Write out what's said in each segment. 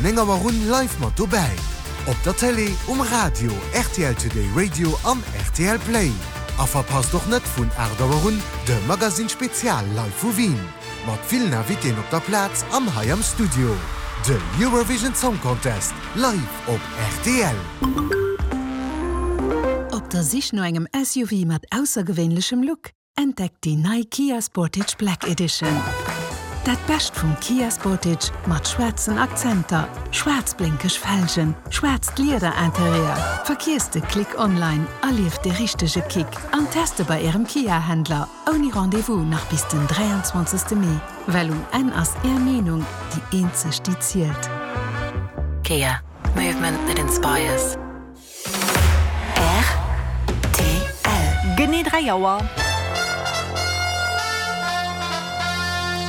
9 Auer un live mat dobäi. Op der Télé, um Radio, rtl Today Radio an rtl Play. A verpasst och net vun 8 Auer un de Magazine Spezial live vu Wien. Mat villen Invitéen op der Plaz an hei am Studio. De Eurovision Song Contest live op rtl. Op der Sich no engem SUV mat aussergewéinlechem Look? Entdeckt déi nei Kia Sportage Black Edition. Dat Bescht vum Kia Sportage mat schwaarzen Akzenter, schwaarz-blénkeg Felgen, schwaarzt Lieder-Interieur. Verkiesst de Click online, erlieft de richtege Kick an teste bei Ärem Kia-Händler ouni Rendez-vous nach bis den 23. Mee, well um Enn ass Är Meenung déi eenzeg déi zielt. Kia, movement that inspires. Rtl. Genee 3 Auer.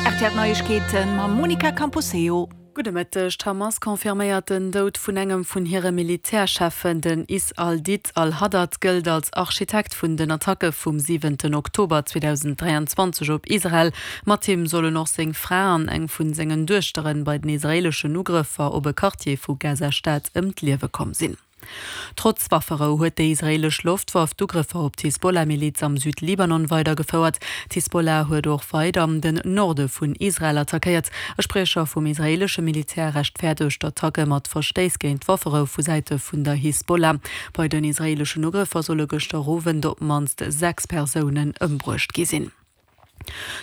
Rtl Neiegkeeten mam Monica Camposeo. Gudde Mëtteg. D'Hamas confirméiert den Doud vun engem vun hire Militärcheffen. Den Is al-Did al-Haddad gëllt als Architekt vun den Attacke vum siwenten Oktober 2023 op Israel. Mat him sollen och seng Fra an eng vun sengen Duechteren bei den israeeleschen Ugrëffer op e Quartier vu Gaza-Stad ëm d'Liewe komm sinn. Trotz Wafferou huet déi israeelesch Loftwaff d'Ugrëffer op d'Hisbollah-Miliz am Südlibanon weidergefouert. D'Hisbollah huet och weider den Norde vun Israel attackéiert. E Spriecher vum israeelesche Militär rechtfäerdegt d'Attacke mat Verstéiss géint d'Wafferou vu Säite vun der Hisbollah. Bei den israeeleschen Ugrëffer solle gëschter Owend op d'mannst 6 Persounen ëmbruecht gi sinn.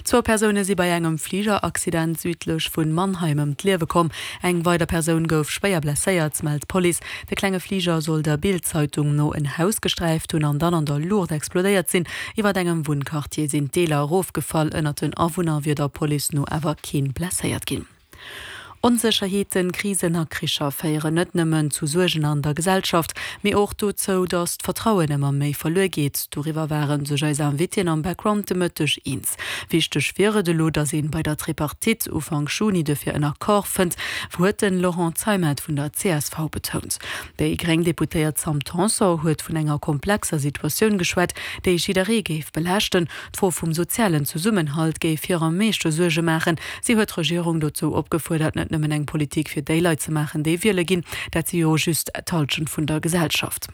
Zwou Persoune si bei engem Fligeraccident südlech vu Mannheim ëm d'Liewe komm. Eng weider Persoun gouf schwéier blesséiert, mellt d'Police. De klenge Fliger soll der Bild-Zeitung no en Haus gesträift hunn an dann an der Luucht explodéiert sinn. Iwwer engem Wunnquartier sinn d'Deeler erofgefall. Ënnert den Awunner wier der Police no awer keen blesséiert ginn. Onsécherheeten, Krisen a Kricher féieren net nëmmen zu Suergen an der Gesellschaft, mee och dozou, datt d'Vertrauen ëmmer méi verluer geet. Doriwwer ware sech eis Invitéen am Background de Mëtteg eens. Wichteg wier et elo, datt ee bei der Tripartite Ufank Juni dofir en Accord fënnt, huet de Laurent Zeimet vun der csv betount. Déi gréng Deputéiert Sam Tanson huet vun enger komplexer Situatioun geschwat, déi jidderee géif belaaschten. D'Fro vum sozialen Zesummenhalt géif hir am meeschte Suerge maachen. Si huet d'Regierung dozou opgefuerdert, net nëmmen eng Politik fir déi Leit ze maachen, déi wiele ginn, dat si jo just d'Hallschent vun der Gesellschaft.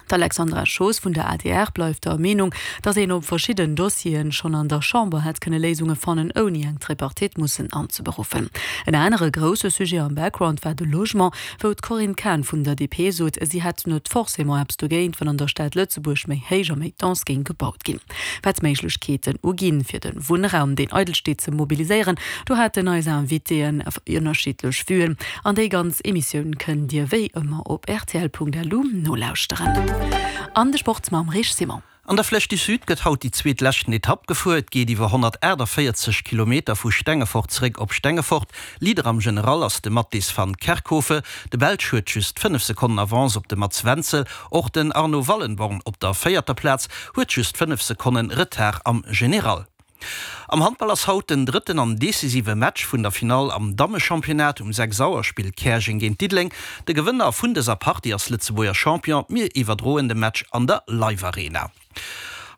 D'Alexandra Schoos vun der adr bleift der Meenung, datt een op verschidden Dossieren schonn an der Chamber hätt kënne Léisunge fannen, ouni eng Tripartite mussen anzeberuffen. En anere grousse Sujet am Background war de Logement, wou d'Corinne Cahen vun der DP sot, si hätt net forcément eppes dogéint, wann an der Stad Lëtzebuerg méi héich a méi dense géing gebaut ginn. Wat d'Méiglechkeeten uginn, fir de Wunnraum, deen eidel steet, ze mobiliséieren, do haten eis Invitéen ënnerschiddlech Vuen. An déi ganz Emissioun kënnt Dir wéi ëmmer op rtl.lu nolauschteren. An de Sport mam Rich Simon. An der Flèche du Sud gëtt haut déi zweet leschten Etapp gefuer. Et geet iwwer 148 Kilometer vu Stengefort zeréck op Stengefort. Leader am General ass de Mattis van Kerkhove. De Belsch huet just 5 Sekonnen Avance op de Mats Wenzel. Och den Arno Wallenborn op der véierter Plaz huet just 5 Sekonnen Retard am General. Am Handball ass haut den drëtten an decisive Match vun der Finall am Dammechampionnat. Um 6 Auer spillt Käerjeng géint Diddeleng. De Gewënner vun dëser Partie ass Lëtzebuerger Champion. Mir iwwerdroen de Match an der Live Arena.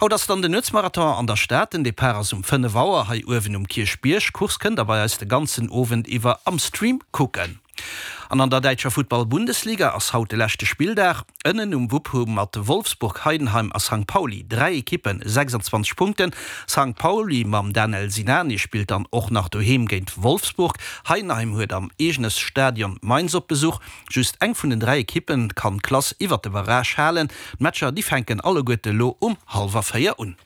Haut ass dann den Nuetsmarathon an der Stad. Den Depart ass um 5 Auer hei uewen um Kierchbierg. D'Course kënnt der bei eis de ganzen Owend iwwer am Stream kucken. An an der däitscher Futtball-Bundesliga ass haut de leschte Spilldag. Ënnen um Wupp hu mat Wolfsburg, Heidenheim a Sankt Pauli 3 Ekippen 26 Punkten. Sankt Pauli mam Danel Sinani spillt dann och nach doheem géint Wolfsburg. Heidenheim huet am eegene Stadion Mainz op Besuch. Just eng vun den 3 Ekippen kann d'Klass iwwert de Barrage halen. D'Matcher déi fänken alleguerte lo um hallwer 4 un.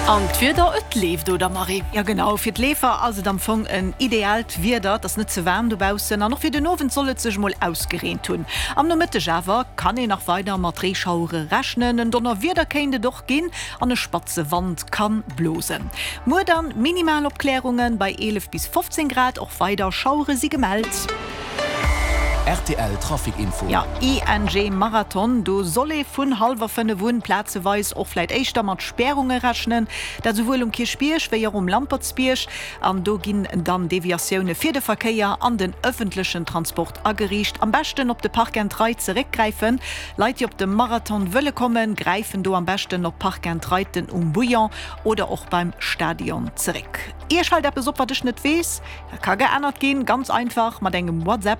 An d'Wieder, et leeft, oder Marie? Jo genau, fir d'Leefer ass et am Fong en ideaalt Wieder, et ass net ze waarm dobaussen an och fir den Owend soll et sech mol ausgereent hunn. Am Nomëtteg awer kann een nach weider mat Reeschauere rechnen, en Donnerwieder kéint et och ginn an e spatze Wand kann blosen. Muer dann minimal Opklärungen bei 11 bis 15 Grad, och weider Schauere si gemellt. Rtl Trafic Info. Jo, ING Marathon, do soll ee vun hallwer 5 un plazeweis och vläit éischter mat Spärunge rechnen. Dat esouwuel um Kierchbierg wéi och um Lampertsbierg. An do ginn dann Deviatioune fir de Verkéier an den ëffentlechen Transport ageriicht. Am beschten op de Park and Ride zeréckgräifen. Leit, déi op de Marathon wëlle kommen, gräifen do am beschten op Park and Riden um Bouillon oder och beim Stadion zeréck. Iech fält eppes op, wat ech net weess? Dat ka geännert ginn, ganz einfach mat engem WhatsApp.